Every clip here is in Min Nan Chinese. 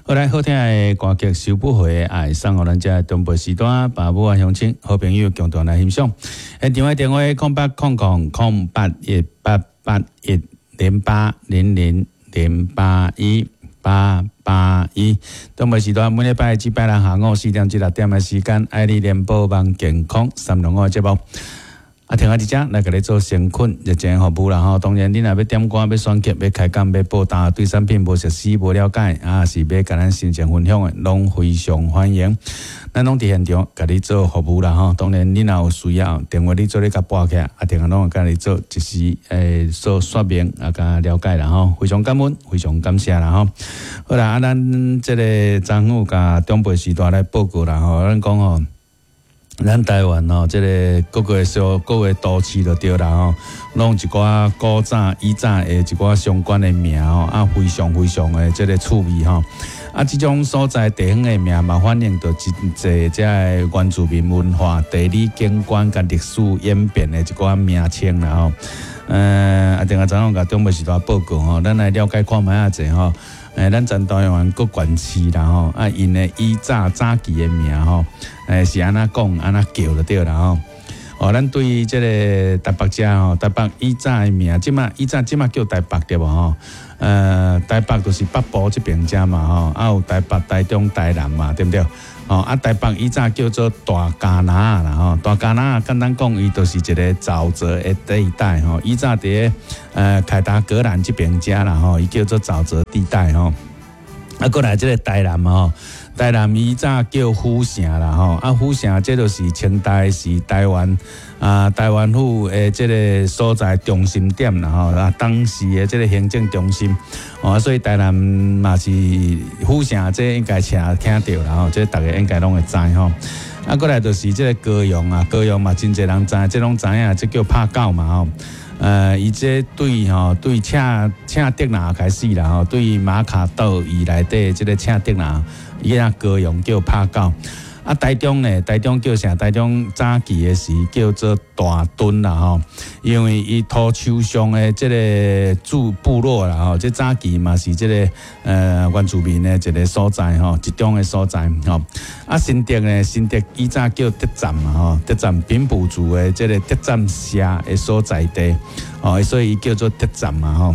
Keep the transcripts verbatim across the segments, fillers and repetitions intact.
好來，好聽的歌曲《收不回的愛》送予咱遮長輩時段爸母啊鄉親好朋友共同來欣賞。現場的電話空八空空空八一八八一零八零零零八一八八一。長輩時段每禮拜至拜六下午四點至六點的時間，愛你聯播網健康三六五的節目。啊，聽下佇遮來共你做誠懇熱情服務啦吼。當然，你若欲點歌、欲選曲、欲開講、欲報答，對產品無熟悉、無了解，啊，是欲共咱心情分享的，攏非常歡迎。咱攏佇現場共你做服務啦吼。當然，你若有需要，電話你做咧共撥起來，啊，電話攏會共你做一時誒做說明啊，共了解啦吼。非常感恩，非常感謝啦吼。好啦，啊，咱這个昨昏有共長輩時代來報告啦吼，咱講吼。咱台灣吼，這个各個小各個都市就對啦吼，攏有一寡古早以早的一寡相關的名吼，啊，非常非常的這个趣味吼。啊，這種所在地方的名嘛，反映著真濟這个原住民文化、地理景觀佮歷史演變的一寡名稱啦吼。呃，啊，另外昨昏共長輩時代報告吼，咱來了解看覓仔者吼。欸，咱全台灣各縣市啦吼，啊，𪜶的以早早期的名吼，欸，是按怎講，按怎叫就對啦吼。哦，咱對這个台北遮吼，台北以早的名，這馬以早這馬叫台北對無吼？呃，台北就是北部這邊遮嘛吼，啊有台北、台中、台南嘛，對毋對？哦，啊台北以早叫做大迦拿啦吼，大迦拿簡單講，伊就是一个沼澤的地帶吼。以早佇咧呃凱達格蘭這邊遮啦吼，伊叫做沼澤地帶吼。啊，過來這个台南吼，台南以早叫府城啦吼，啊府城這就是清代時台灣啊台灣府的這个所在中心點啦吼，啊當時的這个行政中心，哦，所以台南嘛是府城，這應該聽聽著啦吼，這逐家應該攏會知吼。啊，過來就是這个高雄啊，高雄嘛真濟人知，這攏知影，這叫拍狗嘛吼。呃，伊這對吼對赤赤竹林開始啦吼，對馬卡島以內底這个赤竹林，伊遐高雄叫拍狗。啊，台中呢，台中叫啥？台中早期的時叫做大墩啦吼，因為伊土丘上的這个住部落啦吼，這早期嘛是這个呃原住民的一个所在吼，一種的所在吼。啊，新竹呢，新竹以早叫德站嘛吼，德站平埔族的這个德站社的所在地，哦，所以伊叫做德站嘛吼。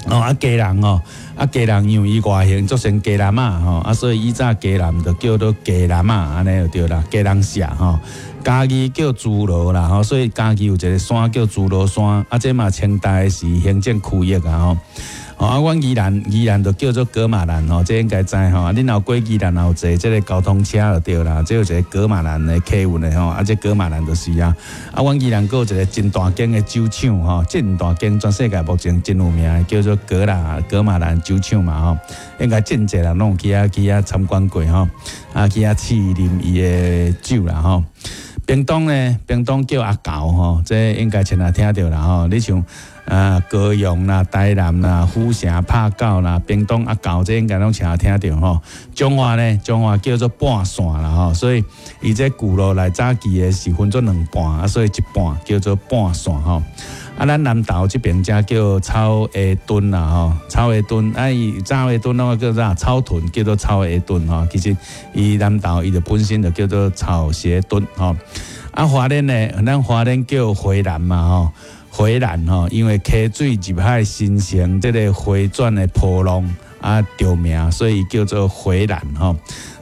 哦，啊，基隆哦，啊，基隆因為伊外形做成雞籠仔吼，啊，所以以早基隆就叫做雞籠仔，按呢就對啦，基隆社吼。嘉義叫諸羅啦吼，所以嘉義有一个山叫諸羅山，啊，這嘛清代時行政區域啊吼。哦，啊，阮宜蘭宜蘭就叫做噶瑪蘭吼，這應該知吼。啊，恁若過宜蘭有坐這个交通車就對啦，這有一个噶瑪蘭的客運的吼，啊，這噶瑪蘭就是啊。啊，阮宜蘭閣有一个真大間的酒廠吼，真大間，全世界目前真有名的，叫做噶啦噶瑪蘭酒廠嘛吼，應該真濟人攏有去遐去遐參觀過吼，啊，去遐試啉伊的酒啦吼。屏東呢，屏東叫阿猴吼，這應該前下聽著啦吼。你像啊高雄啦、台南啦、府城拍狗啦、屏東阿猴，這應該攏前聽著吼。彰化呢，彰化叫做半線啦吼，所以伊這舊路來早期的是分做兩半，啊，所以一半叫做半線吼。啊，咱南投這邊遮叫草鞋墩啦吼，草鞋墩，啊伊草鞋墩攏叫啥？草屯叫做草鞋墩吼。其實伊南投伊就本身就叫做草鞋墩吼。啊，花蓮呢，咱花蓮叫回蘭嘛吼，回蘭吼，因為溪水入海形成這个迴轉的波浪啊，著名，所以叫做回蘭吼。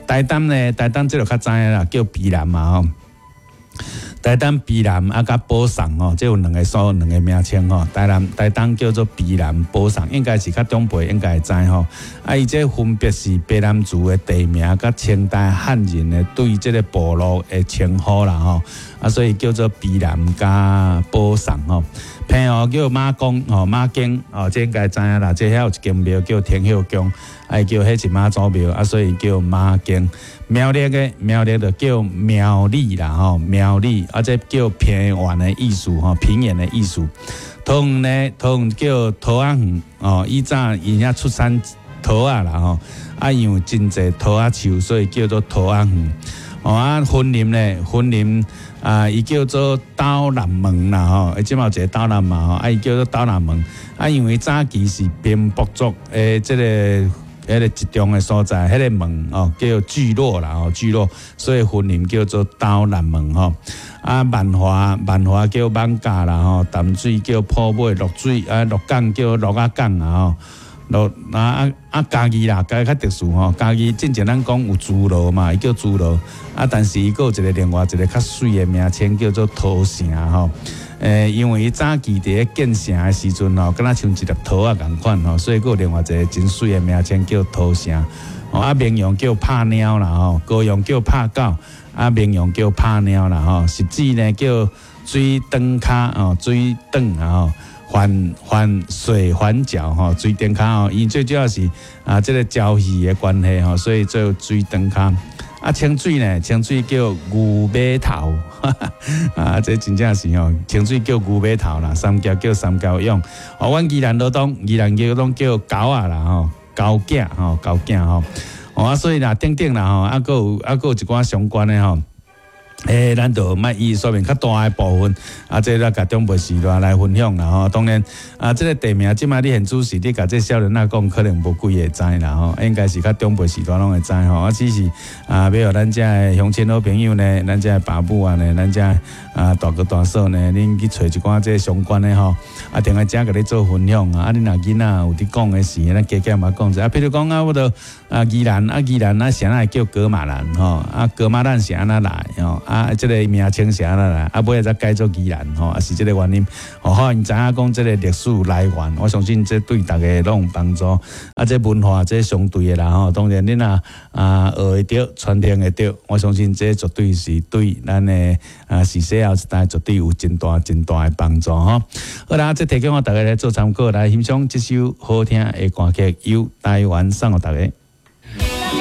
台東呢，台東這個較知影啦，叫卑南嘛吼。台東卑南啊，佮寶送吼，這有兩个所兩个名稱吼。台南台東叫做卑南寶送，應該是較長輩應該會知吼。啊，伊這分別是卑南族的地名，佮清代漢人的對這个部落的稱呼啦吼。啊，所以叫做卑南佮寶送吼。澎湖叫馬公吼，馬公哦，這應該知影啦。這遐有一間廟叫天后宮，啊，叫彼是媽祖廟啊，所以叫媽宮。苗栗的苗栗就叫苗栗啦吼，苗栗啊，這叫平原的意思吼，平原的意思。桃園呢，桃園叫桃仔園哦，以早𪜶遐出產桃仔啦吼，啊，因為真濟桃仔樹，所以叫做桃仔園。哦啊，雲林呢，雲林啊，伊叫做斗南門啦吼，伊這馬有一个斗南嘛吼，啊，伊叫做斗南門。啊，因為早期是平埔族的這个。彼个集中的所在，彼个門哦叫聚落啦吼，聚落，所以分林叫做斗南門吼。啊，萬華萬華叫艋舺啦吼，淡水叫埔尾，濁水啊，鹿港叫鹿仔港啊吼。鹿啊啊啊！嘉義啦，嘉義較特殊吼。嘉義進前咱講有諸羅嘛，伊叫諸羅啊，但是伊閣有一個另外一個較媠的名稱叫做桃城吼。欸，因為伊早期佇咧建城的時陣吼，敢若像一粒桃仔仝款吼，所以閣有另外一個真媠的名稱叫桃城。哦，啊，綿陽叫拍貓啦吼，高雄叫拍狗，啊，綿陽叫拍貓啦吼。汐止呢叫水轉跤哦，水轉啊吼。環環水環礁吼，水頂跤吼，因最主要是啊，這個礁溪的關係吼，所以做水轉跤。啊，清水呢，清水叫牛尾頭，啊，這真正是吼，清水叫牛尾頭啦，三峽叫三峽湧。哦，阮宜蘭羅東，宜蘭叫攏叫狗仔啦吼，狗囝吼，狗囝吼。哦啊，所以啦，等等啦吼，啊，閣有啊，閣有一寡相關的吼。欸，咱就莫以說明較大的部分，啊，這個共長輩時代來分享啦吼。當然，啊，這個地名這擺你現主時，你共這少年仔講，可能無幾個知啦吼。應該是較長輩時代攏會知吼。啊，只是啊，欲予咱遮的鄉親好朋友呢，咱遮的爸母啊呢，咱遮啊大哥大嫂呢，恁去揣一寡這相關的吼，啊，定來遮共你做分享啊。啊，恁若囡仔有佇講的時，咱加減嘛講者。啊，比如講啊，我著啊宜蘭啊宜蘭啊，啥會叫噶瑪蘭吼？啊，噶瑪蘭是按怎來吼？啊，這個名稱是按怎來？啊，尾仔才改做宜蘭吼，啊是這個原因。吼，予𪜶知影講這個歷史來源，我相信這對逐家攏有幫助。啊，這文化這相對的啦吼，當然恁若啊學會著，傳承會著，我相信這絕對是對咱的啊時勢後一代絕對有真大真大的幫助吼。好啦，這提供予逐家來做參考，來欣賞這首好聽的歌曲，由台灣送予逐家。